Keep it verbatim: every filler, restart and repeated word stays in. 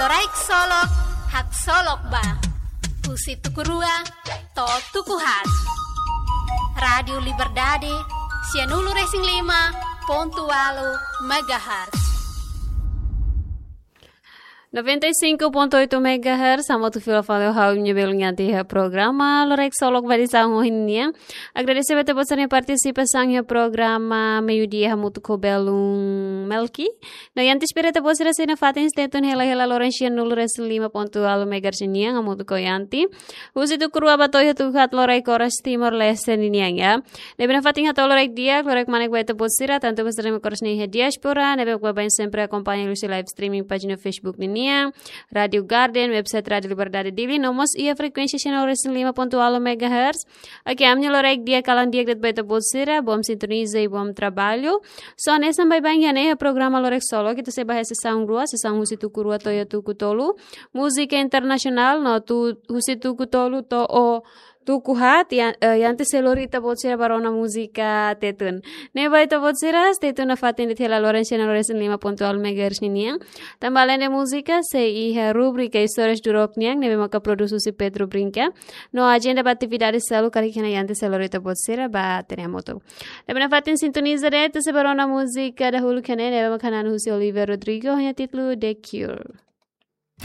Loraik Solok, haksolok ba. Husi tuku rua to'o tuku haat. Rádiu Liberdade, sianulu-resin-lima pontu ualu megahertz. Noventa e cinco ponto oito megahertz, hamutuk fila fali ho ha'u-nia belun Yanti iha programa Loraik Solok ba edisaun ohin nian. Agradese ba ita-boot sira-nia partisipasaun iha programa meiudia hamutuk ho belun Melki. No Yanti espera ita-boot sira sei nafatin stay tune hela-hela loron sianulu-resin-lima pontu ualu megahertz nian hamutuk ho Yanti. Husi tuku rua ba to'o iha tuku haat loraik oras Timor-Leste ninian ya. Ne'ebé nafatin hato'o loraik di'ak, loraik kmanek ba ita-boot sira, tantu ba sira-nia kolega sira iha diáspora, ne'ebé baibain sempre akompaña husi live streaming pájina Facebook ninian, Rádiu Garden, website Rádiu Liberdade Dili, no mós iha frekuénsia sianulu-resin-lima pontu ualu megahertz. Oke, ami-nia loraik di'ak, kalan di'ak de'it ba ita-boot sira, bom sintoniza i bom traballu. So, hanesan baibain iha ne'e iha programa Loraik Solok, ita sei bá iha sesaun rua, sesaun husi tuku rua to'o iha tuku tolu. Múzika internasionál, no tu, husi tuku tolu to'o tuku haat, Yan-, eh, Yanti sei lori ita-boot sira ba rona múzika Tetun. Ne'e ba ita-boot sira, stay tune nafatin de'it hela loron sianulu-resin-lima pontu ualu megahertz ninian. Tanba alende múzika, sei iha rubrika Istórias do Rock nian, ne'ebé maka prodús husi Pedro Brinca. No ajenda ba atividade seluk karik iha ne'e Yanti sei lori ita-boot sira ba hatene hamutuk. Ne'ebé nafatin sintoniza de'it, ita sei bá rona múzika dahuluk iha ne'e, ne'ebé maka hananu husi Olivia Rodrigo, ho nia títulu The Cure.